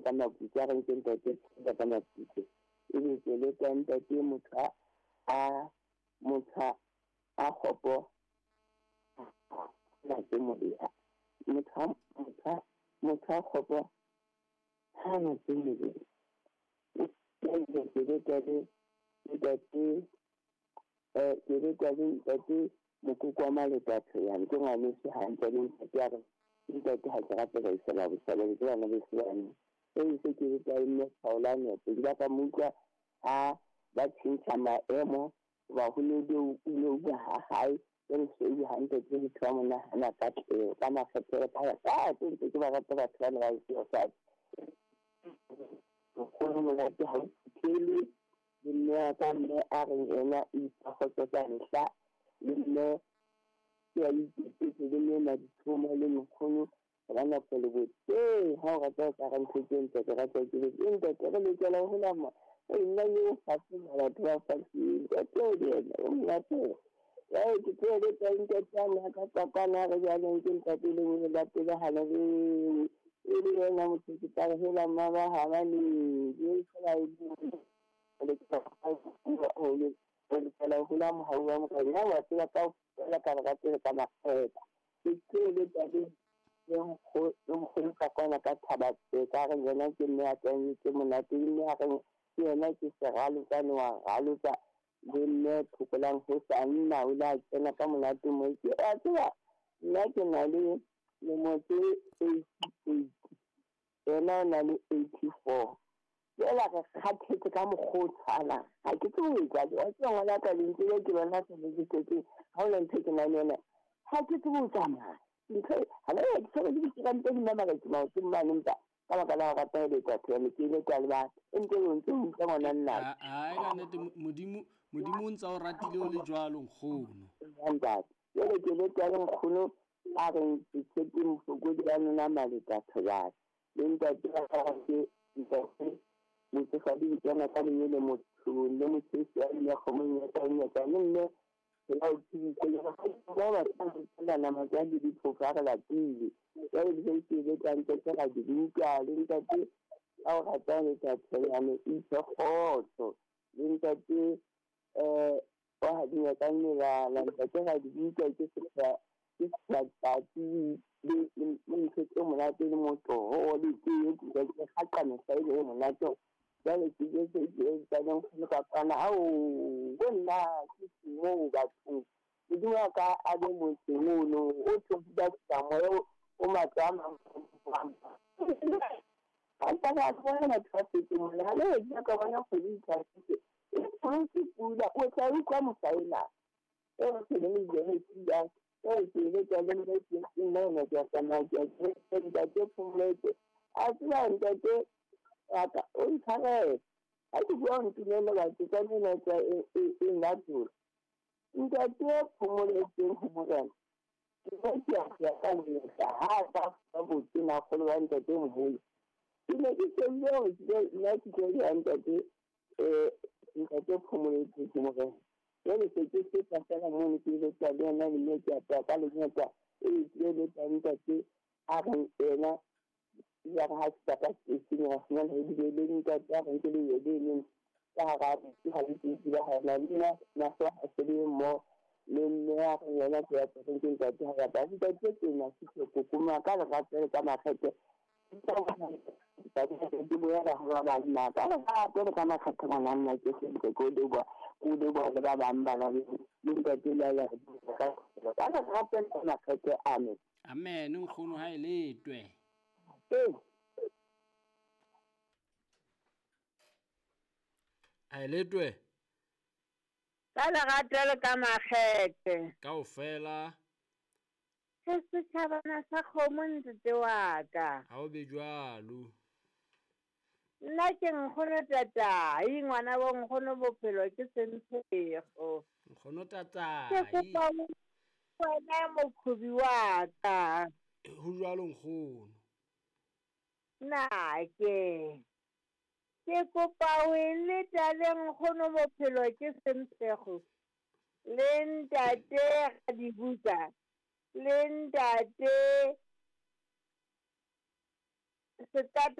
Ka Maputse, a reng ke ntate ka Maputse. Ebe ke leta ntate motho a motho a kgopo na tse molemo. Motho a kgopo ha na tse molemo. Ke leta le ntate ke leta le ntate Mokoko wa Maletatso yane, ke ngwaneso hantle le ntate a re ntate ha ke rate ba isela boshabela ke bana beso bane. E se ke leta le mme Kgaolane ke ba ka mo utlwa ha ba tjhentjha maemo ba ho ne o ne o ha hae jwale se o hantle ke motho wa monahana ka tleo ka makgethe ka ka tse ntse ke ba rata batho bana ba seo nkgono monate ha o phuthele le mme wa ka mme a reng ena o ipha kgotso ka mehla le mme ke a iketsetse le mme Maditshomo le nkgono ba nako le botse ha o rata o ka re ntho tse ntle ke rata ke le ntate re lokela ho hola mo nna eo fatshe batho ba fatshe ntate o yena o monate ya ke tsebe ka ntate a ka tsakana re jwaleng ke ntate le mo la pele hana le e le yena motho ke tla hela mama ha ba le ke fela e le le fela hula mohau wa morena wa tseba ka fela ka re tsebe ka makgetha ke tsebe tate le nkgono ka kwana ka thaba tse ka re yena ke mme a tsentse monate mme a re ke yena ke seralotsane wa ralotsa le mme Thokolang ho sa nna o la kena ka monate mo ke a tseba nna ke na le lemo tse 88 yena o na le 84 fela re kgathetse ka mokgwa o tshwanang ha ke tsebe ho etsa wa tseba ngwana ka lentswe le ke bona se le ke ha o ntho ke na le yona ha ke tsebe ho tsamaya ntho ha le ke tsebe ke dirante di mama ke maotong mane empa ka baka la ho rata ho letsa thone ke ile ka le batho e ntse o ntse o utlwa ngwana nna ai ka nnete modimo o ntse o ratile o le jwalo nkgono ntate jwale ke le tsa nkgono a reng ke tshepe mofokodi wa nona Maletatso jwale le ntate wa ke ntate motsofadi ke kena ka lenyele mothong le motshesi wa le kgomong ya ka le mme la o tsebise le ba ba nama tsa le diphofo a re lapile jwale di ke le ka ntate ra di utlwa le ntate a o rata letsatsi yane itse kgotso le ntate wa hadinya ka melala ntate ra di utlwa ke setsatsi le ntho tse monate le motoho le tee ke gaqa mehla e le monate jwale ke jetse ke tsa le ka kwana ao bo nna ke moo bathong modimo wa ka a be motseng ono o tlo moya o matlo a mang a ka bona batho ba fetse mona ha le ke ka bona kgwedi e tlhasitse e pholotse pula o tla utlwa mosaena e re se le le pula e ke le ka le le ke nna ke a tsamaya ke ntate Phomoletse a tseba ntate ka o ntshwarele ha ke bua ntumelle batho ka nna tsa e nna ntate Phomoletseng ho morena ke ke a ka leta ha ka ba botse na kgolo wa ntate moholo ke ne ke shebile hore ke nna ke tlo ya ntate ntate Phomoletseng ho morena jwale se ke feta fela mono ke ile tsa le yena le mme ke a ka lenyatsa e ke le tsa ntate a reng ena ya re ha se ka station wa fumana e bile le ntate a reng ke le yele ka hara ke ha le ke ba ha na le na so ha se le mo le mme a reng yena ke ya teng ke ntate ha ya ba ntate ke na se ke kokoma ka lerato le ka makgethe ke boela ho ba bang na ka lerato le ka makgethe ngwana nna ke se ke ko le ba o le ba le ba bang ba le ntate la ya ka lerato le ka makgethe amen amen nkgono ha e letwe a e letwe ka lerato le ka makgethe kaofela se setjhabana sa kgomo ntate wa ka ha o be jwalo nna ke nkgono tatai ngwana bo nkgono bophelo ke sentshego nkgono tatai ke kopa wena mokhubi wa ka ho jwalo nkgono nna ke kopa o leta le nkgono bophelo ke sentshego le ntate Radibuka le ntate Setata